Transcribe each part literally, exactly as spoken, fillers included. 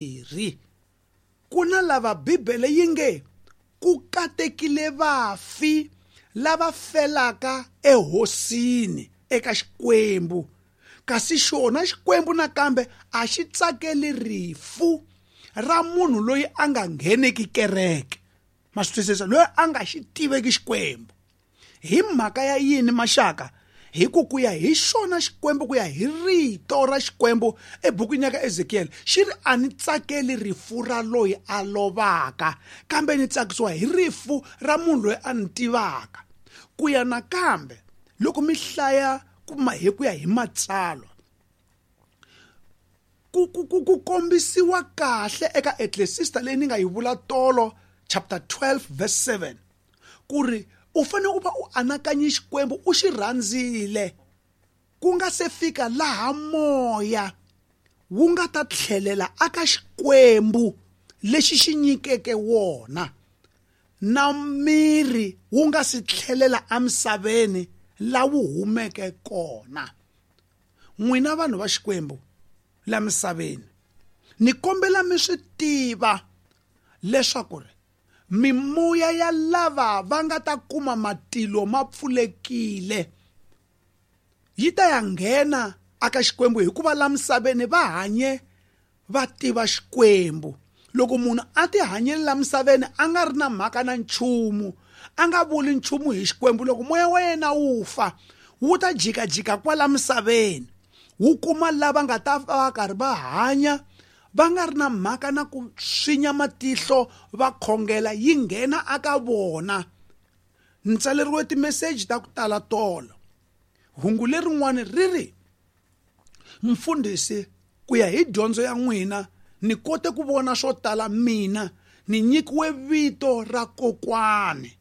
Ri ku na lava Bibele yi nge ku katekile vafi lava felaka ehosini eka Xikwembu, kasi xona Xikwembu nakambe a xi tsakeli rifu ra munhu loyi a nga ngheneki kereke. Ma swi twisisa, loyi a nga xi tiveki Xikwembu. Hi mhaka ya yini maxaka? Hi ku ku ya hi xona Xikwembu, ku ya hi rito ra Xikwembu ebukwini ya ka Ezekiel, xi ri a ni tsakeli rifu ra loyi a lovaka, kambe ni tsakisiwa hi rifu ra munhu loyi a ni tivaka. Ku ya nakambe loko mi hlaya kuma hi ku ya hi matsalwa, ku ku ku ku kombisiwa kahle eka Ecclesiastes leyi ni nga yi vula tolo chapter twelve verse seven, ku ri u fanele u va u anakanye Xikwembu, u xi rhandzile ku nga se fika laha moya wu nga ta tlhelela aka Xikwembu lexi xi nyikeke wona, na miri wu nga si tlhelela emisaveni la wu humeke kona. N'wina vanhu va Xikwembu la misaveni, ni kombela mi swi tiva leswaku ri mimoya ya lava va nga ta kuma matilo ma pfulekile yi ta ya nghena aka Xikwembu, hikuva la misaveni va hanye va tiva Xikwembu. Loko munhu a ti hanyele la misaveni a nga ri na mhaka na nchumu, a nga vuli nchumu hi Xikwembu, loko moya wa yena wu fa wu ta jikajika kwala misaveni, wu kuma lava nga ta va karhi va hanya va nga ri na mhaka na ku swinya matihlo va khongela, yi nghena aka vona. Ni tsaleriwe timeseji ta ku tala tolo. Hungu lerin'wani ri ri, mfundhisi, ku ya hi dyondzo ya n'wina ni kote ku vona swo tala, mina ni nyikiwe vito ra kokwani.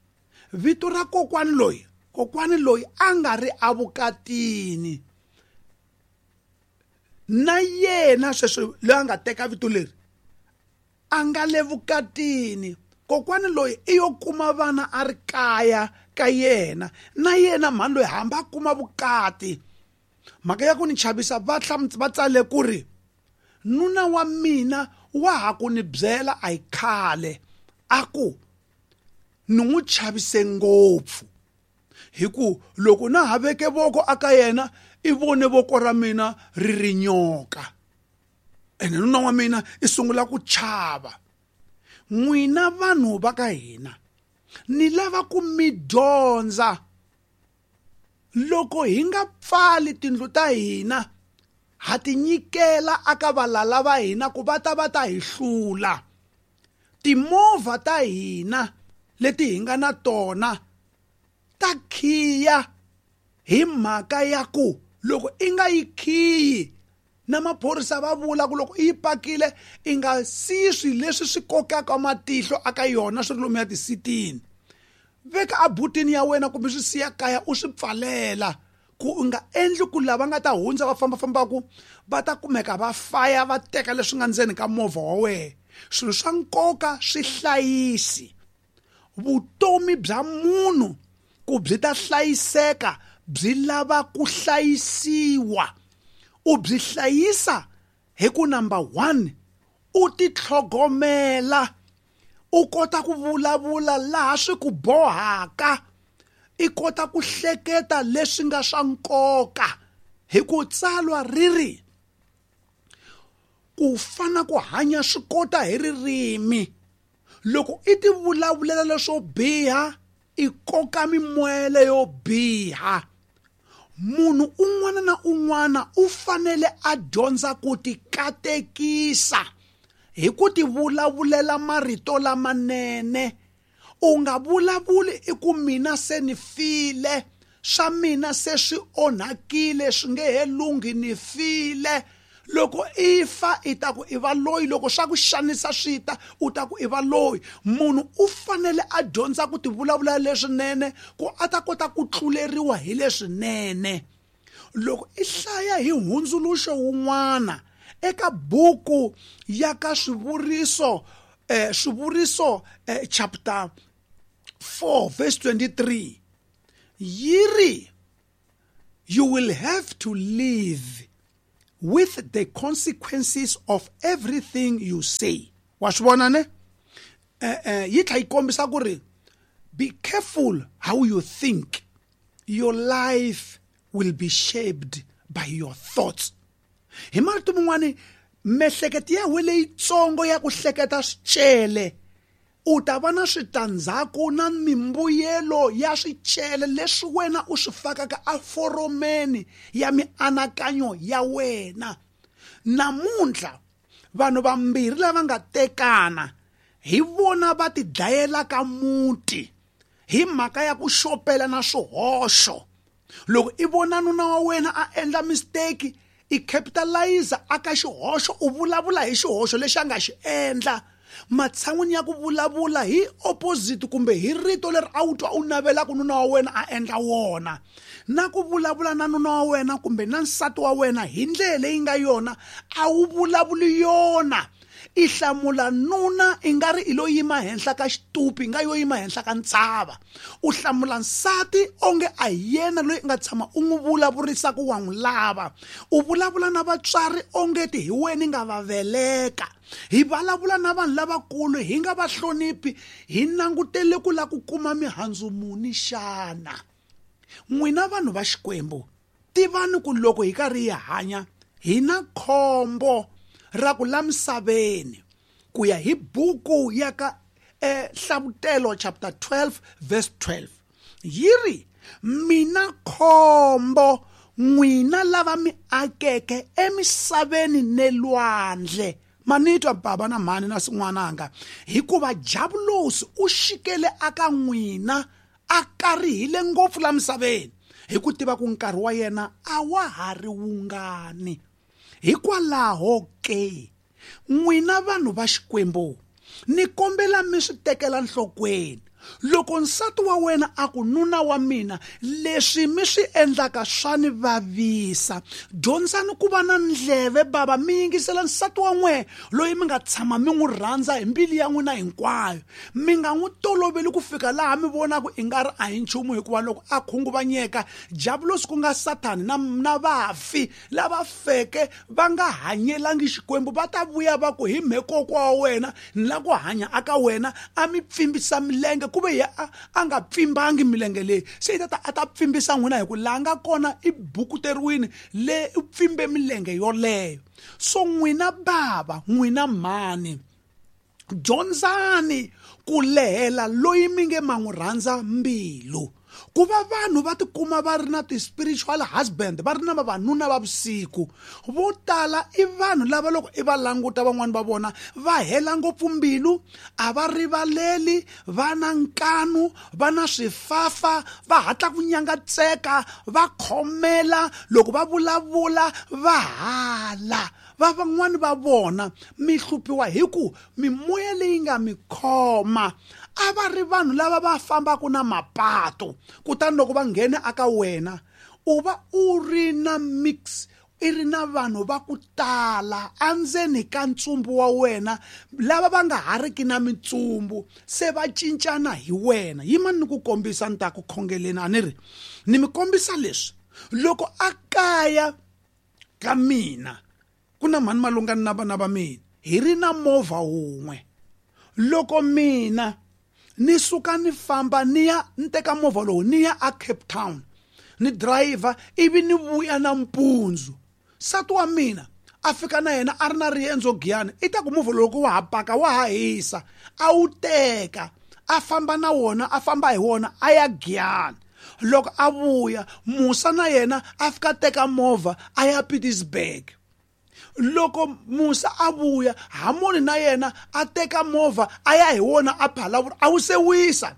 Vito ra kokwani loyi, kokwani loyi a nga ri avukatini na yena sweswo loyi a nga teka vito leri a nga le vukatini. Kokwani loyi i yo kuma vana a ri kaya ka yena, na yena mhani loyi hambi a kuma vukati. Mhaka ya ku ni chavisa, va va tsale ku ri nuna wa mina wa ha ku ni byela a hi khale, a ku ni n'wi chavise ngopfu, hi ku loko na ha veke voko aka yena i vone voko ra mina ri ri nyoka, ene nuna wa mina i sungula ku chava. N'wina vanhu va ka hina ni lava ku mi dyondza, loko hi nga pfali tindlu ta hina ha ti nyikela aka valala va hina ku va ta va ta hi hlula. Timovha ta hina leti hi nga na tona ta khiya hi mhaka ya ku loko i nga yi khiyi, na maphorisa va vula ku loko i yi pakile i nga siyi swilo leswi swi kokaka matihlo aka yona swi ri lomu ya tisitini. Veka abutini ya wena kumbe swi siya kaya u swi pfalela, ku u nga endli ku lava nga ta hundza va fambafambaku va ta kumeka va faya va teka leswi nga ndzeni ka movha wa wena. Swilo swa nkoka swi hlayisi. Vutomi bya munhu ku byi ta hlayiseka byi lava ku hlayisiwa. U byi hlayisa hi ku number one, u titlhogomela, u kota ku vulavula laha swi ku bohaka, i kota ku hleketa leswi nga swa nkoka. Hi ku tsalwa ri ri ku fana ku hanya swi kota hi ririmi. Loko i ti vulavulela leswo biha, i koka mimoya leyo biha. Munhu un'wana na un'wana u fanele a dyondza ku ti katekisa hi ku ti vulavulela marito lamanene. U nga vulavuli i ku mina se ni file, swa mina se swi onhakile, swi nge he lunghi, ni file. Loko i fa i ta ku i va loyi, loko swa ku xanisa swi ta u ta ku i va loyi. Munhu u fanele a dyondza ku ti vulavula leswinene ku a ta kota ku tluleriwa hi leswinene. Loko i hlaya hi hundzuluxo wun'wana eka buku ya ka Swivuriso, eh, Swivuriso, eh, chapter four verse twenty-three, yi ri you will have to live with the consequences of everything you say. Wa swi vona ne? Eh eh yi tlhela yi kombisa ku ri be careful how you think. Your life will be shaped by your thoughts. Hi marito man'wani, miehleketo ya wena leyitsongo ya ku hleketa swicele, u ta va na switandzhaku na mimbuyelo ya swicele leswi wena u swi fakaka eforomeni ya mianakanyo ya wena. Namuntlha vanhu vambirhi lava nga tekana hi vona va ti dlayelaka muti hi mhaka ya ku xopela na swihoxo. Loko i vona nuna wa wena a endla mistake, i capitalize aka xihoxo, u vulavula hi xihoxo lexi a nga xi endla, matshan'wini ya ku vulavula hi opposite kumbe hi rito leri a wu twa u navelaka nuna wa wena a endla wona, na ku vulavula na nuna wa wena kumbe na nsati wa wena hi ndlela leyi nga yona a wu vulavuli yona. I hlamula nuna i nga ri i lo yima henhla ka xitupi, i nga yo yima henhla ka ntshava. U hlamula nsati onge a hi yena loyi i nga tshama u n'wi vulavurisa ku wa n'wi lava. U vulavula na vatswari onge ti hi wena i nga va veleka. Hi vulavula na vanhu lavakulu hi nga va hloniphi, hi langutele ku lava ku kuma mihandzu muni xana? N'wina vanhu va Xikwembu, tivani ku loko hi karhi hi hanya hi na khombo ra ku la misaveni. Ku ya hi buku ya ka eh, Hlavutelo chapter twelve verse twelve yi ri, mina khombo n'wina lava mi akeke emisaveni ne lwandle. Manitwa baba na mhani na sin'wananga, hikuva Diabulosi u xikele aka n'wina a karihile ngopfu la misaveni, hi ku tiva ku nkarhi wa yena a wa ha ri wungani. Hikwalaho ke n'wina vanhu va Xikwembu, ni kombela mi swi tekela nhlokweni. Loko nsati wa wena a ku nuna wa mina, leswi mi swi endlaka swa ni vavisa, dyondzani ku va na ndleve baba, mi yingisela nsati wa n'we loyi mi nga tshama mi n'wi rhandza hi mbilu ya n'wina hinkwayo. Mi nga n'wi toloveli ku fika laha mi vonaka i nga ri a hi nchumu, hikuva loko a khunguvanyeka, Diabulosi ku nga Sathani na, na vafi lava feke va nga hanyelangi Xikwembu va ta vuya va ku hi mhekokwa wa wena ni la ku hanya aka wena, a mi pfimbisa milenge ku ve ya a nga pfimbangi milenge leyi, se i ta a ta pfimbisa n'wina hi ku laha nga kona i bukuteriwini le u pfimbe milenge yoleyo. So n'wina baba, n'wina mhani, dyondzani ku lehela loyi mi nge ma n'wi rhandza mbilu. Ku va vanhu va tikuma va ri na ti-spiritual husband, va ri na vavanuna va vusiku, vo tala i vanhu lava loko i va languta van'wani va vona va hela ngopfu mbilu, a va rivaleli, va na nkanu, va na swifafa, va hatla ku nyangatseka, va khomela, loko va vulavula va hala. Va van'wani va vona mi hluphiwa hi ku mimoya leyi nga mi khoma a va ri vanhu lava va fambaka na mapato, kutani loko va nghena aka wena u va u ri na mix, i ri na vanhu va ku tala endzeni ka ntsumbu wa wena lava va nga ha riki na mitsumbu, se va cincana hi wena. Yimani ni ku kombisa ni ta ku khongeleni, a ni ri ni mi kombisa leswi. Loko a kaya ka mina ku na mhani Malungani na vana va mina, hi ri na movha wun'we. Loko mina ni suka ni famba ni ya ni teka movha lowu ni ya a Cape Town ni driver, ivi ni vuya nampundzu, nsati wa mina a fika na yena a ri na riendzo Giyani, i ta ku movha lowu wa ha paka wa ha hisa, a wu teka a famba na wona, a famba hi wona a ya Giyani. Loko a vuya Musa na yena a fika teka movha a ya Pietersburg. Loko Musa a vuya, Hamoni na yena a teka movha a ya hi wona a Phalaborwa, a wu se wisa.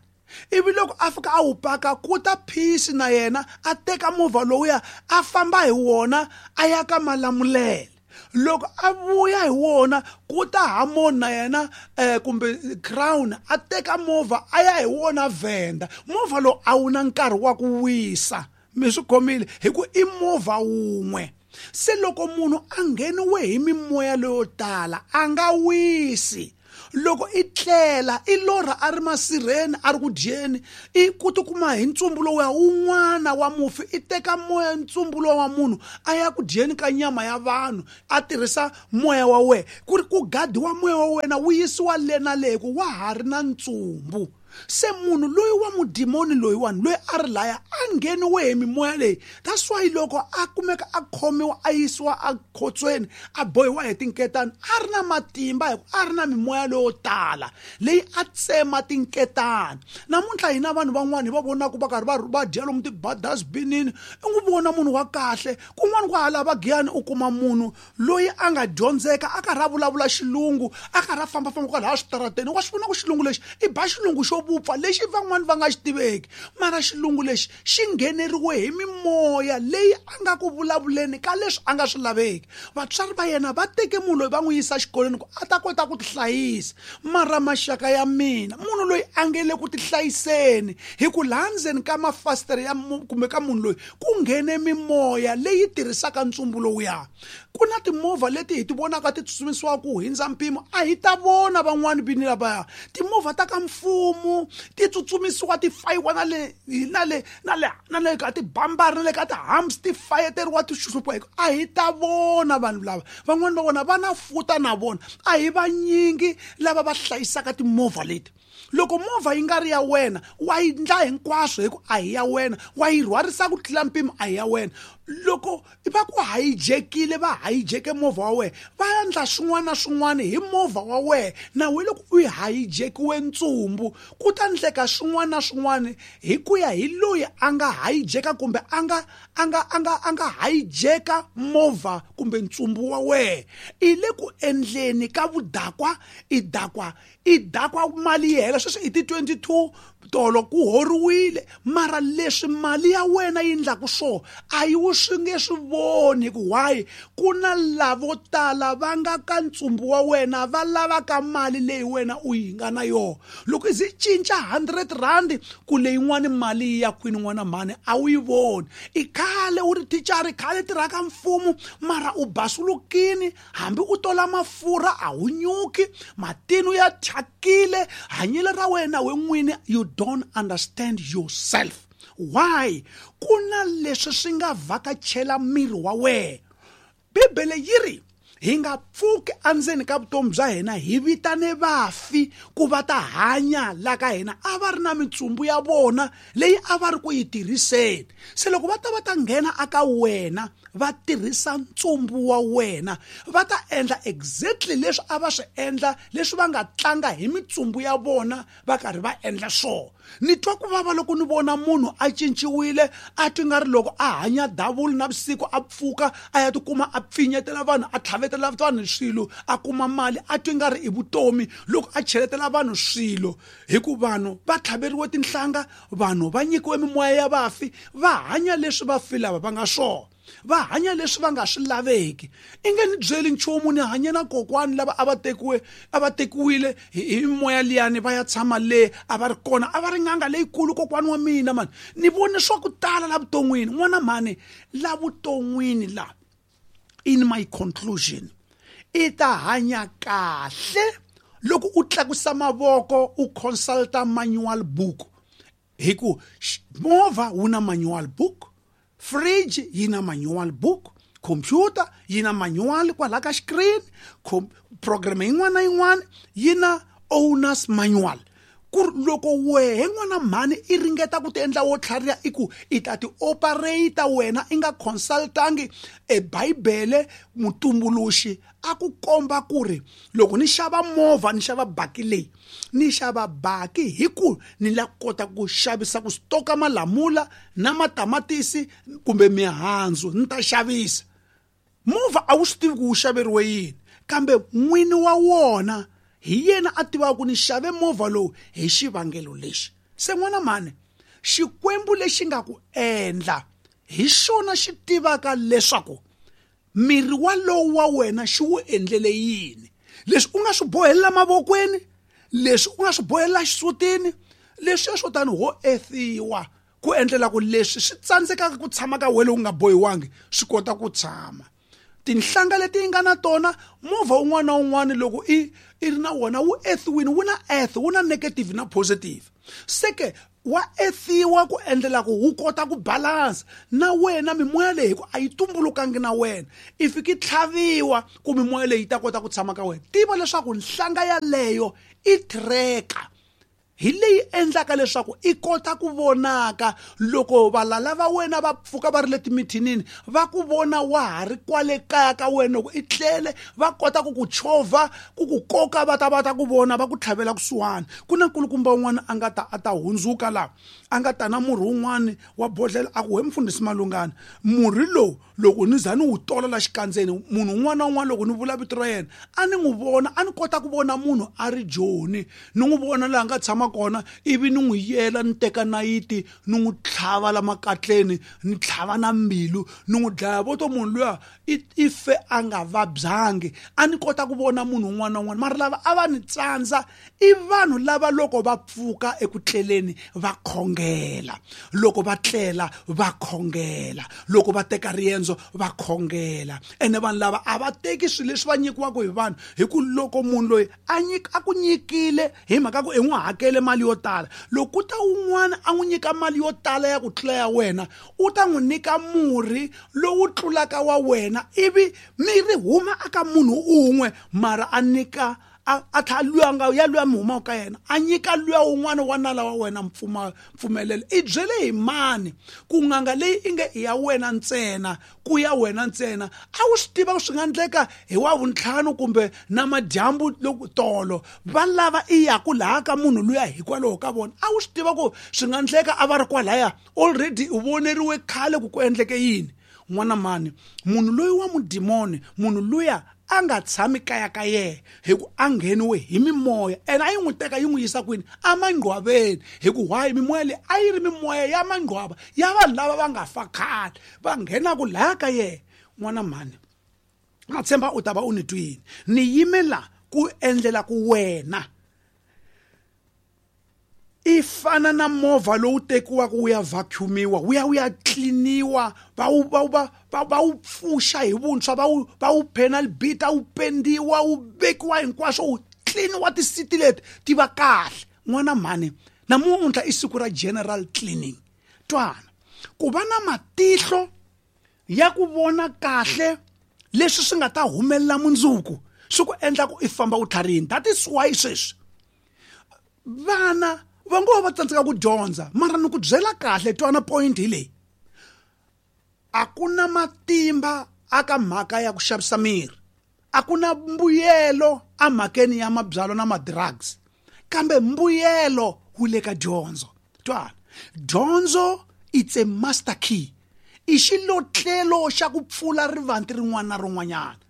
Ivi loko a fika a wu paka, ku ta Phisi na yena a teka movha lowuya a famba hi wona a ya ka Malamulele. Loko a vuya hi wona, ku ta Hamoni na yena eh, kumbe Crown a teka movha a ya hi wona Venda. Movha lowu a wu na nkarhi wa ku wisa, mi swi khomile, hi ku i movha wun'we. Se loko munhu a ngheniwe hi mimoya leyo tala a nga wisi. Loko i tlela i lorha a ri masirheni a ri ku dyeni, i ku tikuma hi ntsumbu lowuya wun'wana wa mufi i teka moya ntsumbu lowa wa munhu a ya ku dyeni ka nyama ya vanhu a tirhisa moya wa wena ku ri ku gadiwa moya wa wena wu yisiwa le na le ku wa ha ri na ntsumbu. Se munhu loyi wa mudimoni loyiwani loyi a ri laya a ngheniwe hi mimoya leyi. That's why loko a kumeka a khomiwa a yisiwa ekhotsweni a bohiwa hi tinketani a ri na matimba hi ku a ri na mimoya leyo tala leyi a tsema tinketani. Namuntlha hina vanhu van'wani hi va vonaka va karhi va va dya lomu ti-dustbinini, i n'wi vona munhu wa kahle kun'wana ku hala va Giyani u kuma munhu loyi a nga dyondzeka a karhi a vulavula xilungu a karhi a fambafamba kwalaha switarateni wa swi vona ku xilungu lexi i ba xilungu xo vupfa lexi van'wani va nga xi tiveki, mara xilungu lexi xi ngheneriwe hi mimoya leyi a nga ku vulavuleni ka leswi a nga swi laveki. Vatswari va yena va teke munhu loyi va n'wi yisa xikolweni ku a ta kota ku tihlayisa, mara maxaka ya mina munhu loyi a nge le ku tihlayiseni hi ku laha ndzeni ka mafasitere ya kumbe ka munhu loyi ku nghene mimoya leyi tirhisaka ntsumbu lowuya. Ku na timovha leti hi ti vonaka ti tsutsumisiwa ku hundza mpimo, a hi ta vona van'wani vini lavaya timovha ta ka mfumo ti tsutsumisiwa ti fayiwa na le na le na le na le ka tibambari na le ka ti-humps ti fayeteriwa ti xuxupiwa hi ku a hi ta vona vanhu lava van'wani va vona va na futa na vona a hi vanyingi lava va hlayisaka timovha leti. Loko movha yi nga ri ya wena wa yi ndla hinkwaswo hi ku a hi ya wena, wa yi rhwarisa ku tlula mpimo a hi ya wena. Loko va ku hijekile va hijeke movha wa wena va endla swin'wana na swin'wana hi movha wa wena, na we loko u hijekiwe ntsumbu ku ta ndleka swin'wana na swin'wana hi ku ya hi loyi a nga hijeka kumbe a nga a nga a nga a nga hijeka movha kumbe ntsumbu wa wena. I le ku endleni ka vudakwa, i dakwa i dakwa mali yi hela sweswi i ti twenty-two tolo ku horiwile, mara leswi mali ya wena yi ndlaku swo a yi wu swi nge swi voni ku why ku na lavo tala va nga ka ntsumbu wa wena va lavaka mali leyi wena u yi nga na yona. Loko i zi cinca hundred rand ku leyin'wani mali yi ya kwini n'wana mhani a wu yi voni. I khale u ri thicara, khale tirhaka mfumo mara u basulukini hambi u tola mafurha a wu nyuki, matino ya thyakile, hanyelo ra wena we n'wini you don't understand yourself. Why? Ku na leswi swi nga vhakachela miri wa wena. Bibele yi ri hi nga pfuki endzeni ka vutomi bya hina hi vitane vafi ku va ta hanya la ka hina a va ri na mitsumbu ya vona leyi a va ri ku yi tirhiseni. Se loko va ta va ta nghena aka wena va tirhisa ntsumbu wa wena va ta endla exactly leswi a va swi endla leswi va nga tlanga hi mitsumbu ya vona va karhi va endla swona. Ni twa ku vava loko ni vona munhu a cinciwile a twi nga ri loko a hanya davulu na vusiku a pfuka a ya tikuma a pfinyetela vanhu a tlhavetela vanhu swilo a kuma mali a twi nga ri i vutomi loko a cheletela vanhu swilo hi ku vanhu va tlhaveriwe tinhlanga, vanhu va nyikiwe mimoya ya vafi va hanya leswi vafi lava va nga swona, va hanya leswi va nga swi laveki. I nge ni byeli nchumu, ni hanye na kokwani lava a va tekiwe a va tekiwile hi mimoya liyani va ya tshama le a va ri kona a va ri n'anga leyikulu kokwani wa mina mani. Ni vone swa ku tala la vuton'wini n'wana mhani la vuton'wini la. In my conclusion, i ta hanya kahle loko u tlakusa mavoko u consulta manual book hi ku movha wu na manual book, fridge yi na manual book, computer yi na manual kwala ka screen, program yin'wana na yin'wana yi na owner's manual. Ku loko wehe n'wana mhani i ringeta ku ti endla wo tlhariha i ku i ta ti operator wena i nga consultangi e Bibele mutumbuluxi a ku komba ku ri loko ni xava movha ni xava baki leyi ni xava baki hi ku ni la kota ku xavisa ku stoka malamula na matamatisi kumbe mihandzu ni ta xavisa. Movha a wu swi tivi ku wu xaveriwe yini kambe n'wini wa wona hi yena a tivaka ku ni xave movha lowu hi xivangelo lexi. Se n'wana mhani Xikwembu lexi nga ku endla hi xona xi tivaka leswaku miri walowu wa wena xi wu endlele yini, leswi u nga swi bohelela mavokweni, leswi u nga swi bohelela xisutini, leswi swo tani ho ethiwa ku endlela ku leswi swi tsandzekaka ku tshama ka wena u nga bohiwangi swi kota ku tshama. Tinhlanga leti yi nga na tona movha wun'wana na wun'wana loko i i ri na wona wu earthwini wu na earth wu na negative na positive seke wa ethiwa ku endlela ku wu kota ku balance na wena mimoya leyi ku a yi tumbulukangi na wena i fiki tlhaviwa ku mimoya leyi yi ta kota ku tshama ka wena tiva leswaku nhlanga yaleyo i tracker hi leyi endlaka leswaku i kota ku vonaka loko valala va wena va pfuka va ri le timithinini va ku vona wa ha ri kwale kaya ka wena loko i tlele va kota ku ku chovha ku ku koka va ta va ta ku vona va ku tlhavela kusuhani ku na nkulukumba wun'wana a nga ta a ta hundzuka laha a nga ta na murhi wun'wani wa bodlhela a ku we mfundhisi Malungana murhi lowu loko ni za ni wu tola la xikandzeni munhu un'wana na un'wana loko ni vula vito ra yena a ni n'wi vona a ni kota ku vona munhu a ri joni ni n'wi vona laha nga tshama kona ivi ni n'wi yela ni teka nayiti ni n'wi tlhava la makatleni ni tlhava na mbilu ni n'wi dlaya vo to munhu luya i fe a nga vabyangi a ni kota ku vona munhu un'wana na un'wana mara lava a va ni tsandza i vanhu lava loko va pfuka eku tleleni va khongela loko va tlela va khongela loko va teka riendzo va khongela ene vanhu lava a va teki swilo leswi va nyikiwaka hi vanhu hi ku loko munhu loyi a nyika a ku nyikile hi mhaka ku i n'wi hakele mali yo tala loko ku ta un'wana a n'wi nyika mali yo tala ya ku tlula ya wena u ta n'wi nyika murhi lowu tlulaka wa wena ivi miri huma aka munhu un'we mara a nyika a a tlha luya nga ya luya mi humaka ka yena a nyika luya wun'wana wa nala wa wena mpfuma mpfumelelo i byele hi mani ku n'anga leyi i nge i ya wena ntsena ku ya wena ntsena a wu swi tiva ku swi nga endleka hi wa vuntlhanu kumbe na madyambu loko tolo va lava i yaku laha ka munhu luya hikwalaho ka vona a wu swi tiva ku swi nga endleka a va ri kwalaya already u voneriwe khale ku ku endleke yini n'wana mani munhu loyi wa mudimoni munhu luya a nga tshami kaya ka yena hi ku a ngheniwe hi mimoya ene a yi n'wi teka yi n'wi yisa kwini emangcwaveni hi ku why mimoya leyi a yi ri mimoya ya mangcwava ya vanhu lava va nga fa khale va nghenaku laya ka yena n'wana mhani na tshemba u ta va u ni twini ni yimela ku endlela ku wena i fana na movha lowu tekiwaka wu ya vacuumiwa wu ya wu ya tliniwa va wu va va va va wu pfuxa hi vuntshwa va wu va wu penal bita wu pendiwa wu vekiwa hinkwaswo wu tliniwa tisiti leti ti va kahle n'wana mhani namuntlha i siku ra general cleaning twana ku va na matihlo ya ku vona kahle leswi swi nga ta humelela mundzuku swi ku endla ku i famba u tlharihini that is why sweswi vana va ngo va tsandzeka ku dyondza mara ni ku byela kahle twana point hi leyi a ku na matimba aka mhaka ya ku xavisa miri a ku na mbuyelo emhakeni ya mabyalwa na ma-drugs kambe mbuyelo wu le ka dyondzo twana dyondzo it's a master key i xilotlelo xa ku pfula rivanti rin'wana na rin'wanyana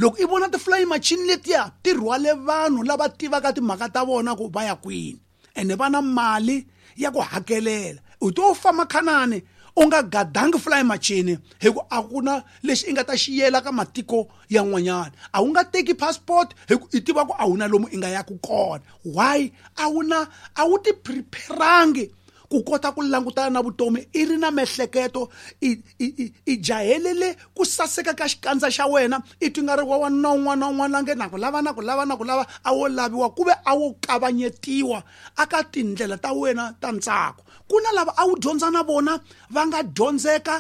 loko i vona ti-flying machine letiya ti rhwale vanhu lava tivaka timhaka ta vona ku va ya kwini ene va na mali ya ku hakelela u to famba khanani u nga gadangi flying machine hi ku a ku na lexi i nga ta xi yela ka matiko yan'wanyana a wu nga teki passport hi ku i tiva ku a wu na lomu i nga yaku kona why a wu na a wu ti preparangi ku kota ku langutana na vutomi i ri na miehleketo i i i i jahelele ku saseka ka xikandza xa wena i twi nga ri wa wanuna un'wana na un'wana la nge na ku lava na ku lava na ku lava a wo laviwa ku ve a wo kavanyetiwa aka tindlela ta wena ta ntsako ku na lava a wu dyondza na vona va nga dyondzeka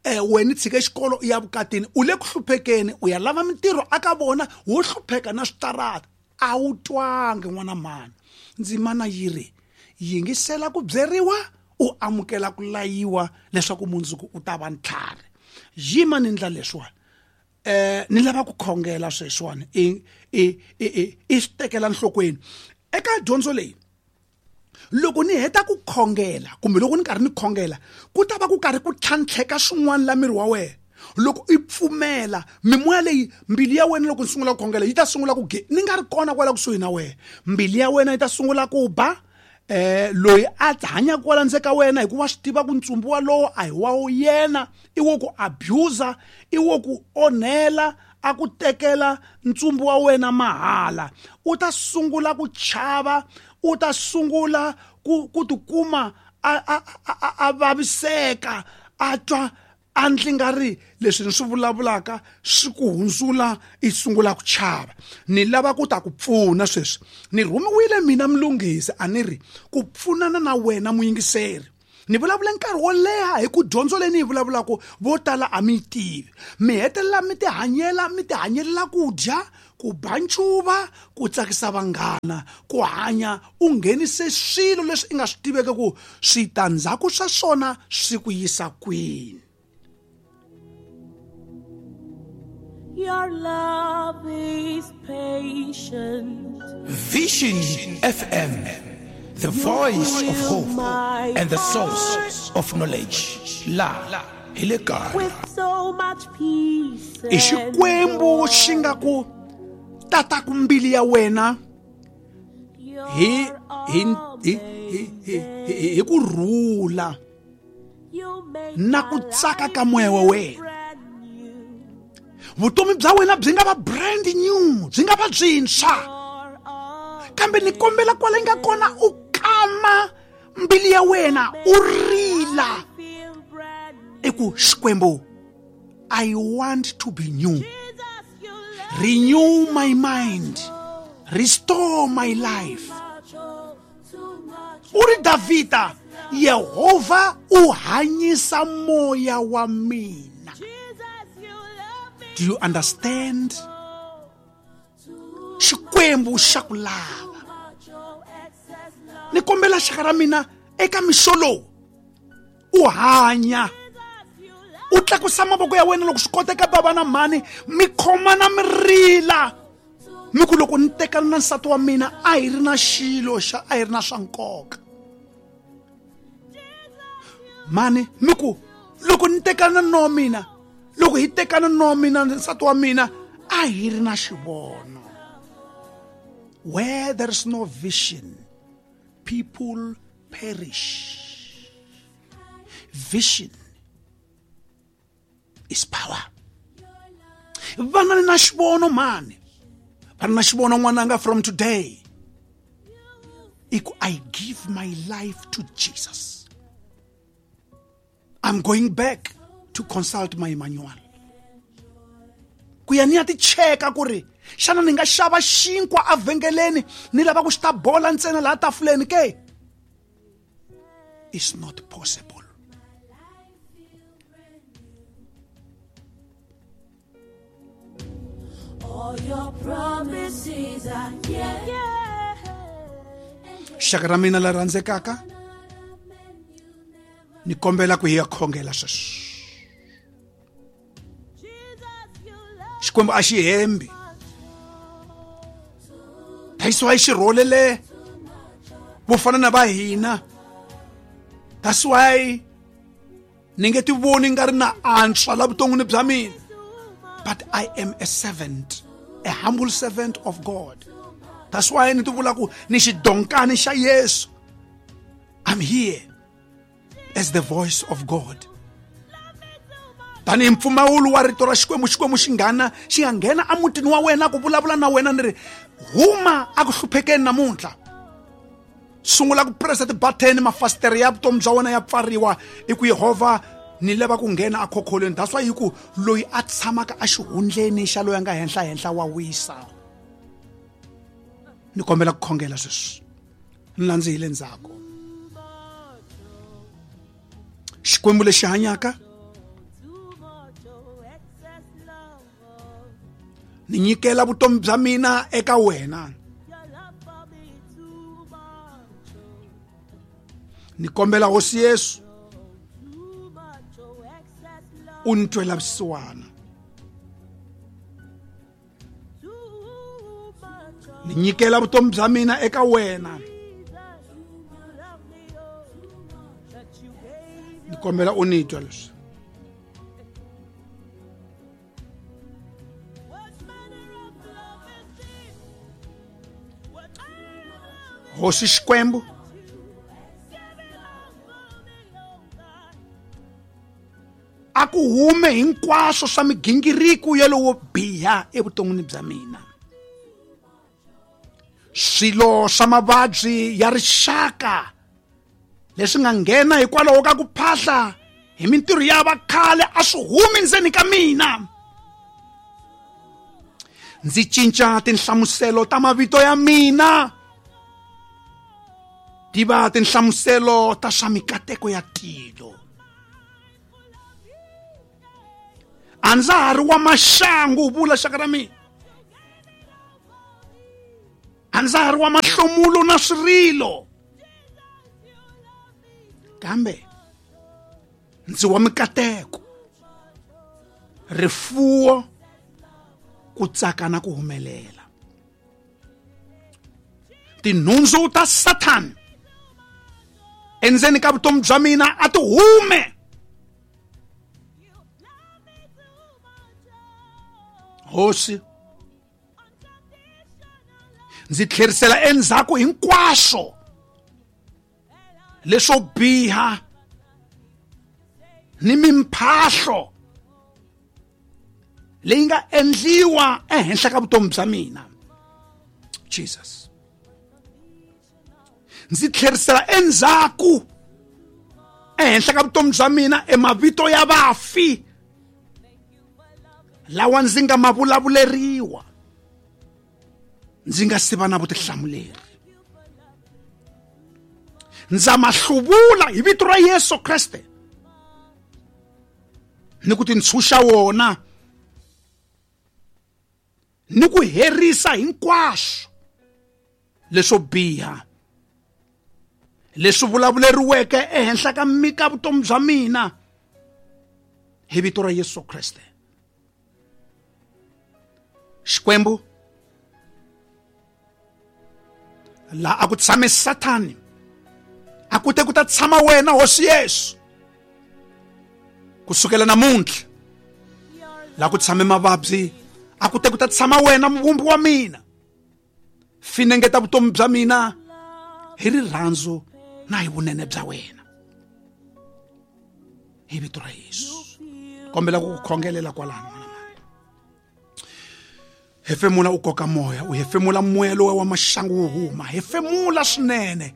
eh wena tshike xikolo u ya vukatini u le ku hluphekeni u ya lava mintirho aka vona wo hlupheka na switarata a wu twangi n'wana mhani ndzimana yi ri yingisela ku byeriwa u amukela ku layiwa leswaku mundzuku u ta va ntlhari yima ni ndla leswiwani eh ni lava ku khongela sweswiwani i i i i swi tekela nhlokweni eka dyondzo leyi loko ni heta ku khongela kumbe loko ni karhi ni khongela ku ta va ku karhi ku tlhantlheka swin'wana la miri wa wena loko i pfumela mimoya leyi mbilu ya wena loko ni sungula ku khongela yi ta sungula ku ge ni nga ri kona kwala kusuhi na wena mbilu ya wena yi ta sungula ku ba eh loyi a hanya kwala ndzeni ka wena hikuva swi tiva ku ntsumbu walowo a hi wa yena i wo ku abuser i wo ku onhela a ku tekela ntsumbu wa wena mahala u ta sungula ku chava u ta sungula ku ku tikuma a a a vaviseka a twa A ndzi nga ri leswi ni swi vulavulaka swi ku hundzula i sungula ku chava. Ni lava ku ta ku pfuna sweswi. Ni rhumiwile mina Mlungisi a ni ri ku pfunana na wena muyingiseri. Ni vulavula nkarhi wo leha hi ku dyondzo leyi ni yi vulavulaka vo tala a mi yi tivi. Mi hetelela mi tihanyela mi tihanyela ku dya, ku ba ncuva, ku tsakisa vanghana, ku hanya u nghenise swilo leswi i nga swi tiveki ku switandzhaku swa swona swi ku yisa kwini. Your love is patient. Vision F M, the voice of hope and the source of knowledge. La hi le kaya. With so much peace. I Xikwembu xi nga ku tata ku mbili ya wena hi hi hi hi hi ku rhula na ku tsaka ka moya wa wena. Vutomi bya wena byi nga va brand new, byi nga va byintshwa. Kambe ni kombela kwala yi nga kona u kama mbili ya wena u rila i ku Xikwembu, I want to be new. Renew my mind. Restore my life. U ri Davhida, Yehovha u hanyisa moya wa mina. Do you understand? Xikwembu xa ku lava. Ni kombela xaka ra mina eka mixo lowu u hanya. U tlakusa mavoko ya wena loko swi koteka bava na mhani mi khomana mi rila. Mi ku loko ni tekana na nsati wa mina a hi ri na xilo xa a hi ri na swa nkoka. Mhani mi ku loko ni tekana na mina, loko hi tekana na mina nsati wa mina a hi ri na xivono. Where there is no vision, people perish. Vision is power. Vana na xivono mani. Vana na xivono n'wananga from today. Iku I give my life to Jesus. I'm going back to consult my manual. Ku ya ni ya ti cheka ku ri xana ni nga xava xinkwa avhengeleni ni lava ku xi ta bola ntsena laha tafuleni ke? It's not possible. All your promises are yeah. Xaka ra mina la rhandzekaka, ni kombela ku hi ya khongela sweswi. Xikwembu a xi hembi. That's why xi rholele vo fana na va hina. That's why ni nge ti voni nga ri na antswa la vuton'wini bya mina. But I am a servant, a humble servant of God. That's why ni ti vula ku ni xidonkani xa Yesu. I'm here as the voice of God. Tanihi mpfumawulo wa rito ra Xikwembu, Xikwembu xi nghana xi nga nghena emutini wa wena ku vulavula na wena ni ri huma a ku hluphekeni namuntlha. Sungula ku pressa ti-button, mafasitere ya vutomi bya wena ya pfariwa i ku Yehovha ni lava ku nghena akhokholweni. That's why hi ku loyi a tshamaka exihundleni xa loyi a nga henhla henhla wa wisa. Ni kombela ku khongela sweswi. Ni landzihile ndzhaku. Xikwembu lexi hanyaka, ni nyikela vutomi bya mina eka wena. Ni kombela Hosi Yesu u ni twela vusiwana. Ni nyikela vutomi bya mina eka wena. Ni kombela u ni twa leswi. Hosi Xikwembu, a ku hume hinkwaswo swa migingiriko ya lowo biha evuton'wini bya mina. Swilo swa mavabyi ya rixaka leswi nga nghena hikwalaho ka ku phahla hi mintirho ya vakhale a swi humi ndzeni ka mina. Ndzi cinca tinhlamuselo ta mavito ya mina ti va tinhlamuselo ta swa mikateko ya tilo. A ndza ha ri wa maxangu, vula xaka ra mina. A ndza ha ri wa mahlomulo na swirilo, kambe ndzi wa mikateko, rifuwo, ku tsaka na ku humelela. Tinhundzu ta Sathani endzeni ka vutomi bya mina a ti hume. Hosi, ndzi tlherisela endzhaku hinkwaswo leswo biha ni mimphahlo leyi nga endliwa ehenhla ka vutomi bya mina. Jesus, ndzi tlherisela endzhaku ehenhla ka vutomi bya mina emavito ya vafi lawa ndzi nga ma vulavuleriwa ndzi nga si va na vutihlamuleri. Ndza ma hluvula hi vito ra Yesu Kreste ni ku tintshunxa wona ni ku herisa hinkwaswo leswo biha leswi vulavuleriweke ehenhla ka mika vutomi bya mina hi vito ra Yesu Kreste. Xikwembu, la a ku tshame Sathani a ku te ku ta tshama wena Hosi Yesu. Kusukela namuntlha la ku tshame mavabyi a ku te ku ta tshama wena muvumbi wa mina. Finengeta vutomi bya mina hi rirhandzu na hi vunene bya wena hi vito ra Yesu. Kombela ku ku khongelela kwalano n'wana mani. Hefemula u koka moya, u hefemula moya lowa wa maxangu wu huma. Hefemula swinene,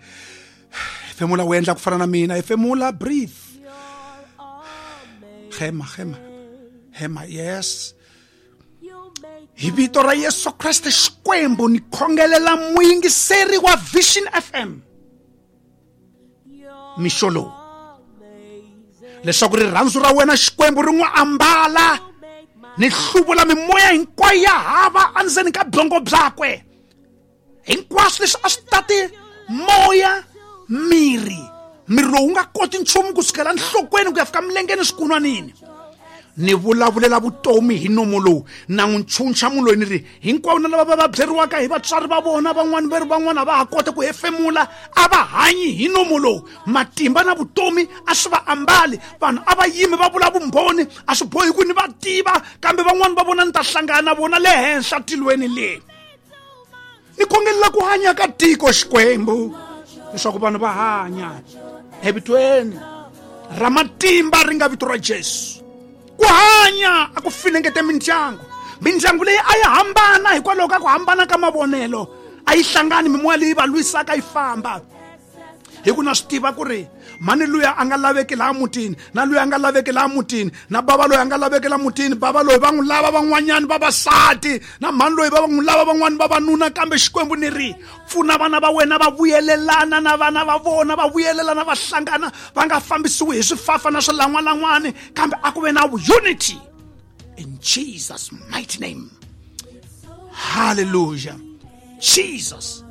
hefemula u endla ku fana na mina. Hefemula, breathe. Hema, hema, hema, yes. Hi vito ra Yesu Kreste Xikwembu ni khongelela muyingiseri wa Vision F M mixo lowu leswaku rirhandzu ra wena Xikwembu ri n'wi ambala ni hluvula mimoya hinkwayo ya hava endzeni ka byongo byakwe. Hinkwaswo leswi a swi tati moya, miri, miri lowu nga koti nchumu kusukela nhlokweni ku ya fika milengeni swikunwanini. Ni vulavulela vutomi hi nomo lowu na n'wi ntshunxa munhu loyi ni ri hinkwavo na lava va va byeriwaka hi vatswari va vona van'wani va ri van'wana va ha kota ku hefemula a va hanyi hi nomo lowu. Matimba na vutomi a swi va ambali. Vanhu a va yimi va vula vumbhoni, a swi bohi ku ni va tiva, kambe van'wani va vona ni ta hlangana na vona le henhla tilweni le. Ni khongelela ku hanya ka tiko Xikwembu leswaku vanhu va hanya evitweni ra matimba ri nga vito ra Jesu. Ku hanya a ku finengete mindyangu. Mindyangu leyi a yi hambana hikwalaho ka ku hambana ka mavonelo, a yi hlangani mimoya leyi va lwisaka yi famba. Hi ku na swi tiva ku ri mani luya a nga laveki laha mutini, na luya a nga laveki laha mutini, na bava loyi a nga laveki laha mutini, bava loyi va n'wi lava van'wanyani vavasati, na mhani loyi va n'wi lava van'wani vavanuna. Kambe Xikwembu ni ri pfuna vana va wena va vuyelelana na vana va vona, va vuyelelana va hlangana, va nga fambisiwi hi swifafa na swilan'walan'wani, kambe a ku ve na unity in Jesus mighty name. Hallelujah. Jesus.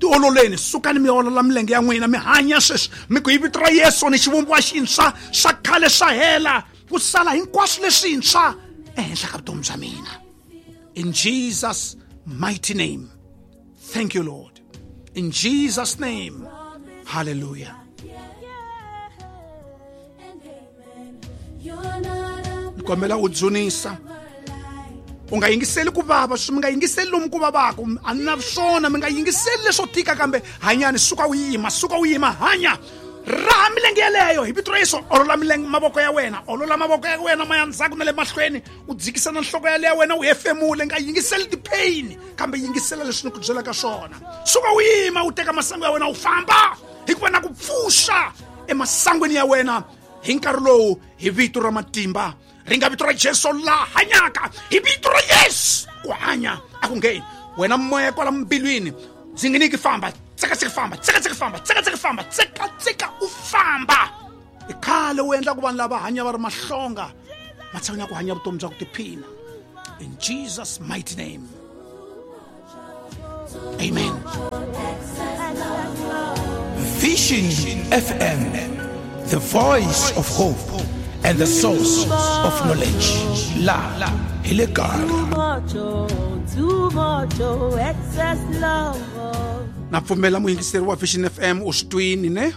Tiololeni, sukani mi olola milenge ya n'wina mi hanya sweswi mi ku hi vito ra Yesu ni xivumbiwa xintshwa swa khale swa hela ku sala hinkwaswo leswintshwa ehenhla ka vutomi bya mina. In Jesus mighty name. Thank you, Lord. In Jesus name. Hallelujah. Ni kombela u dzunisa. U nga yingiseli ku vava, mi nga yingiseli lomu ku vavaka, a ni na swona, mi nga yingiseli leswo tika, kambe hanyani, suka u yima, suka u yima, hanya. Raha milenge yeleyo hi vito ra Yesu. Olola milenge, mavoko ya wena, olola mavoko ya wena ma ya ndzhaku na le mahlweni, u dzikisa na nhloko ya le ya wena, u hefemule. Nga yingiseli ti-pain, kambe yingisela leswi ni ku byelaka swona. Suka u yima, u teka masangu ya wena u famba, hikuva na ku pfuxa emasangwini ya wena Hi nkarhi lowu hi vito ra matimba ri nga vito ra Jesu la hanyaka, hi vito ra Yesu ku hanya a ku ngheni. Wena moya kwala mbilwini dzinginiki famba, tsekatseka famba, tsekatseka famba, tsekatseka famba, tsekatseka u famba. I khale u endla ku vanhu lava hanya va ri mahlonga matshan'wini ya ku hanya vutomi bya ku tiphina. In Jesus mighty name, amen. Vision F M, the voice of hope and the source of knowledge. La hi le kaya. Na pfumela muyingiseri wa Vision F M u swi twini ne?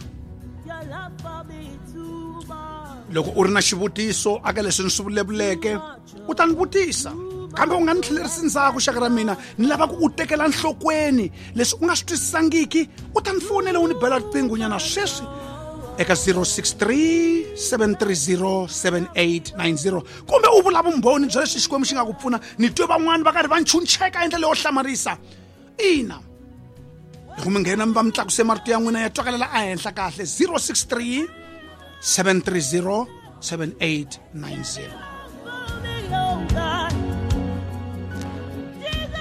Loko u ri na xivutiso aka leswi ni swi vulavuleke u ta ni vutisa, kambe u nga ni tlhelerisi ndzhaku xaka ra mina. Ni lava ku u tekela nhlokweni leswi u nga swi twisisangiki, u ta ni fonela u ni bela riqingho nyana sweswi eka zero six three seven three zero seven eight nine zero, kumbe u vula vumbhoni bya leswi Xikwembu xi nga ku pfuna. Ni twe van'wani va karhi va nchuncheka hi ndlela yo hlamarisa. Ina, loko mi nghena mi va mi tlakuse marito ya n'wina ya twakalela ehenhla kahle. Zero six three seven three zero seven eight nine zero.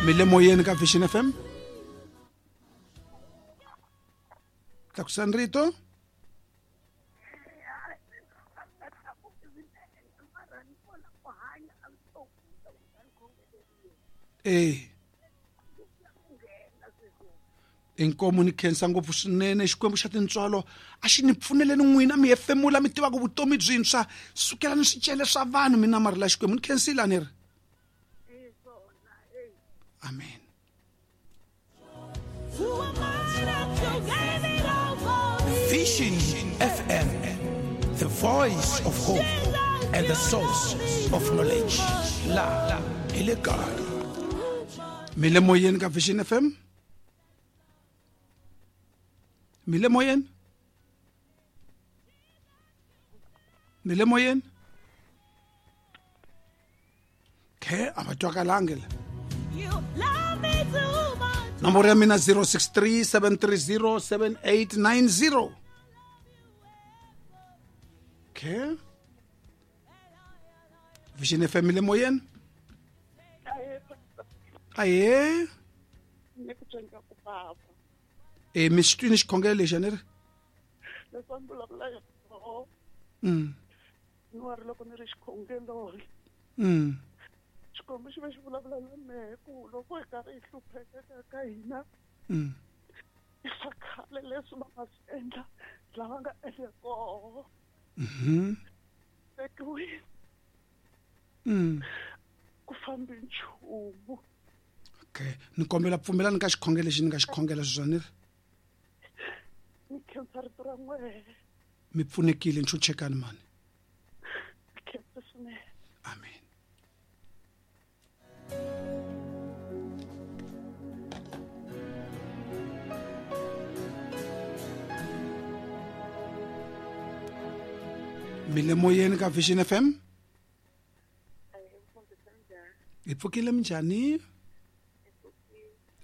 Mi le moyeni ka Vision F M. Tlakusani rito. Eh. Inkomo ni khensa ngopfu swinene Xikwembu xa tintswalo a xi ni pfuneleni n'wina mi hefemula mi tivaka vutomi byintshwa sukela ni swicele swa vanhu mi namarhela Xikwembu. Ni khensile a ni ri amen. Vision F M, the voice of hope and the source of knowledge. La hi le kaya. Mi le moyeni ka Vision F M. Mi le moyeni. Mi le moyeni. Ke a va twakalangi la. Nomboro ya mina zero six three seven three zero seven eight nine zero. Okay. Vision F M mi le moyeni. Aye. Eh mi swi twini xikhongelo lexi a ni ri? Mm. Ni wa ri loko ni ri xikhongelweni. Mm. Xikwembu xi va xi vulavula na mehe ku loko hi karhi hi hlupheka ka hina. Mm. I swa khale leswi va nga swi endla lava nga endla koho. Mhm. Tekiwile. Mm. Ku fambi nchumu. Okay, ni kombela pfumelani ka xikhongelo lexi ni nga xikhongela sweswi a ni ri? Ni khensa rito ra n'wehe. Mi pfunekile nchuchekani mani. Ni khensa swinene. Amen. Mi le moyeni ka Vision F M. Hi pfukile minjhani?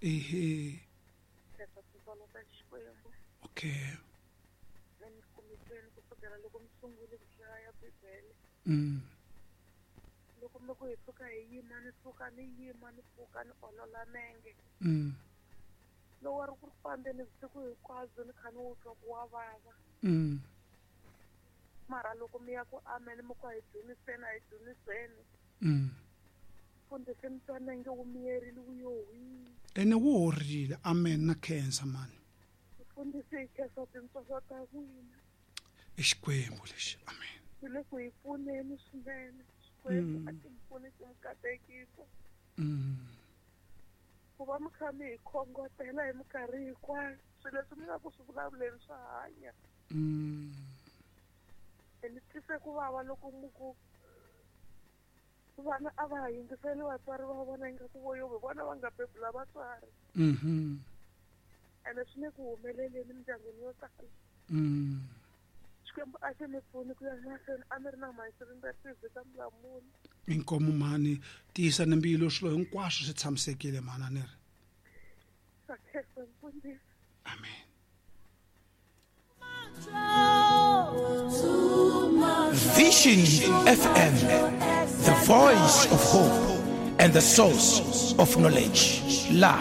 Ehe. Okay. Mm. Mm. Mm. Mara loko mi ya ku amen mi ku hi dzuniseni a hi dzuniseni. Mm. Mfundhisi mi twa nenge wu miyerile wu yo hwi. Ene wu horile. Amen na khensa mani. Mfundhisi hi khensa tintswalo ta n'wina. I Xikwembu lexi. Amen. Swi le ku hi pfuneni swinene. Xikwembu a xi mi pfuni xi mi katekisa. Mm. Ku va mi kha mi hi khongotela hi minkarhi hinkwayo swilo leswi mi nga ku swi vulavuleni swa hanya. Mm. Ni twise ku vava loko mi ku vana a va ha yingiseli vatswari va vona ingaku vo yo vona va nga bebula vatswari. Mhm. Ene swi le ku humeleleni mindyangwini yo tala. Mm. Xikwembu a xi mi pfuni ku ya mahlweni a mi ri na mhani ka Mulamuli. Inkomo mhani, tiyisa ni mbilu swilo hinkwaswo swi tshamisekile mhani a ni ri. Khensa mfundhisi. Amen. Too much. Vision F M, the voice of hope and the source of knowledge. La